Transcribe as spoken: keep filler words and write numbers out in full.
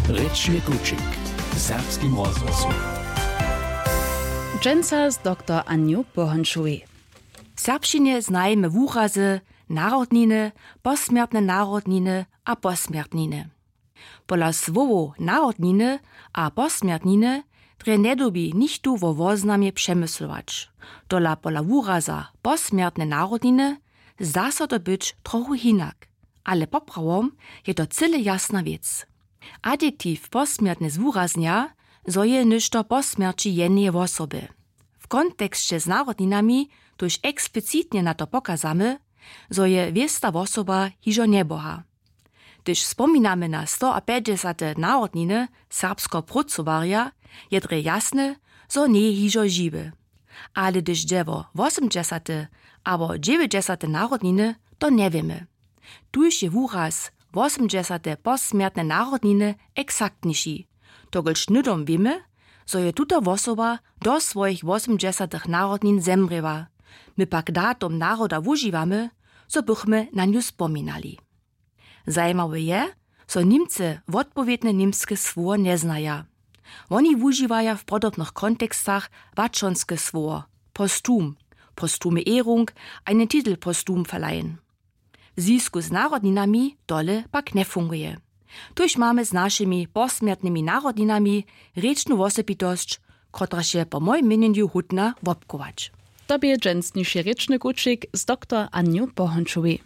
Rěčny kućik w serbskim rozhłosu. Dźensa z doktor Anju Pohončowej. W serbšćinje znajemy wurazy narodniny, posmjertne narodniny a posmjertniny. Pola słowow narodniny a posmjertniny drje njedyrbi nichtó wo woznamje přemyslować. Tola pola wuraza posmjertne narodniny zda so to być trochu hinak, ale poprawom je to cyle jasna wěc. Adjektiw posmjertne zwuraznja, zo je něšto po smjerći jeneje wosoby. W konteksće z narodninami tuž eksplicitnje na to pokazamy, zo je wěsta wosoba hižo njeboha. Hdyž spominamy na stoapjećdźesate narodniny serbskeho prócowarja, je drje jasne, zo njeje hižo žiwy. Ale hdyž dźe wo wosomdźesate abo dźewjećdźesate narodniny, to njewěmy. Tuž je wuraz wosomdźesate posmjertne narodniny eksaktniši, dokelž hnydom wěmy, zo je tuta wosoba do swojich wosomdźesatych narodnin zemrěła. My pak datum naroda wužiwamy, zo bychmy na nju spominali. Zajimawe je, zo Nimcy wotpowědne němske słowo njeznaja. Woni wužiwaja w podobnych kontekstach łaćonske słowo postum, postume Ehrung, einen Titel postum verleihen. W zwisku z narodninami tole pak njefunguje. Tuž mamy z našimi posmjertnymi narodninami rěčnu wosebitosć, kotraž je po mojim měnjenju hódna wobchować. To bě dźensniši rěčny kućik z doktor Anju Pohončowej.